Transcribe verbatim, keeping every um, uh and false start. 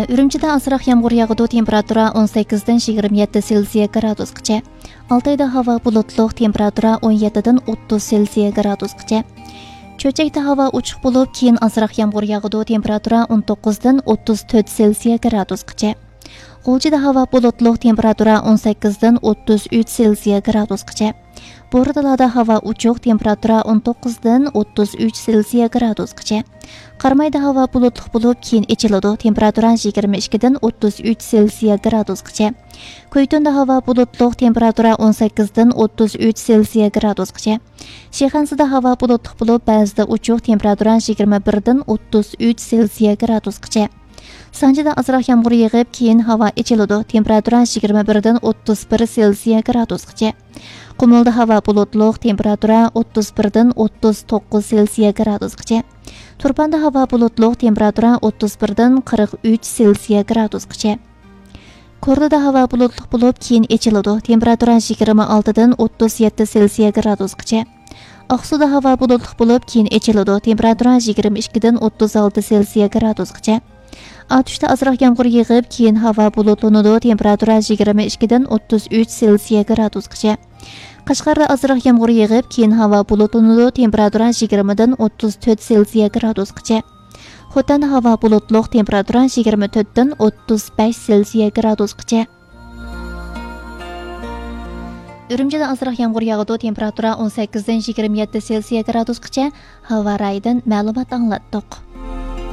ئۈرۈمچىدە ئازراق يامغۇر ياغىدۇ، تېمپېراتۇرا ئون سەككىزدىن يىگىرمە يەتتە سېلسىيە گرادۇسقىچە. ئالتايدا ھاۋا بۇلۇتلۇق، تېمپېراتۇرا ئون يەتتىدىن ئوتتۇز سېلسىيە گرادۇسقىچە. چۆچەكتە ھاۋا ئوچۇق بولۇپ، كېيىن ئازراق يامغۇر ياغىدۇ، تېمپېراتۇرا ئون توققۇزدىن ئوتتۇز تۆت سېلسىيە گرادۇسقىچە. غۇلجىدا ھاۋا بۇلۇتلۇق، تېمپېراتۇرا ئون سەككىزدىن ئوتتۇز ئۈچ سېلسىيە گرادۇسقىچە. بورتالادا ھاۋا ئوچۇق، تېمپېراتۇرا ئون توققۇزدىن ئوتتۇز ئۈچ سېلسىيە گرادۇسقىچە. قارامايدا ھاۋا بۇلۇتلۇق بولۇپ، كېيىن ئېچىلىدۇ، تېمپېراتۇرا يىگىرمە ئىككىدىن ئوتتۇز ئۈچ سېلسىيە گرادۇسقىچە. كۇيتۇندا ھاۋا بۇلۇتلۇق، تېمپېراتۇرا ئون سەككىزدىن ئوتتۇز ئۈچ سېلسىيە گرادۇسقىچە. شىخەنزىدە ھاۋا بۇلۇتلۇق بولۇپ، بەزىدە ئوچۇق، تېمپېراتۇرا يىگىرمە بىردىن ئوتتۇز ئۈچ سېلسىيە گرادۇسقىچە. سانجىدا ئازراق يامغۇر يېغىپ، كېيىن ھاۋا ئېچىلىدۇ، تېمپېراتۇرا يىگىرمە بىردىن ئوتتۇز بىر سېلسىيە گرادۇسقىچە. قۇمۇلدا ھاۋا بۇلۇتلۇق، تېمپېراتۇرا ئوتتۇز بىردىن ئوتتۇز توققۇز سېلسىيە گرادۇسقىچە. تۇرپاندا ھاۋا بۇلۇتلۇق، تېمپېراتۇرا ئوتتۇز بىردىن قىرىق ئۈچ سېلسىيە گرادۇسقىچە. كوردىدا ھاۋا بۇلۇتلۇق بولۇپ، كېيىن ئېچىلىدۇ، تېمپېراتۇرا يىگىرمە ئالتىدىن ئوتتۇز يەتتە سېلسىيە گرادۇسقىچە. ئاقسۇدا ھاۋا بۇلۇتلۇق بولۇپ، كېيىن ئېچىلىدۇ، تېمپېراتۇرا يىگىرمە ئىككىدىن ئوتتۇز ئالتە سېلسىيە گرادۇسقىچە. ئاتۇشتا ئازراق يامغۇر يېغىپ، كېيىن ھاۋا بۇلۇتلىنىدۇ، تېمپېراتۇرا يىگىرمە ئىككىدىن ئوتتۇز ئۈچ سېلسىيە گرادۇسقىچە. قەشقەردە ئازراق يامغۇر يېغىپ، كېيىن ھاۋا بۇلۇتلىنىدۇ، تېمپېراتۇرا يىگىرمىدىن ئوتتۇز تۆت سېلسىيە گرادۇسقىچە. خوتەندە ھاۋا بۇلۇتلۇق، تېمپېراتۇرا يىگىرمە تۆتتىن ئوتتۇز بەش سېلسىيە گرادۇسقىچە. ئۈرۈمچىدە ئازراق يامغۇر ياغىدۇ، تېمپېراتۇرا ئون سەككىزدىن يىگىرمە يەتتە سېلسىيە گرادۇسقىچە، ھاۋا رايىدىن مەلۇمات ئاڭلاتتۇق.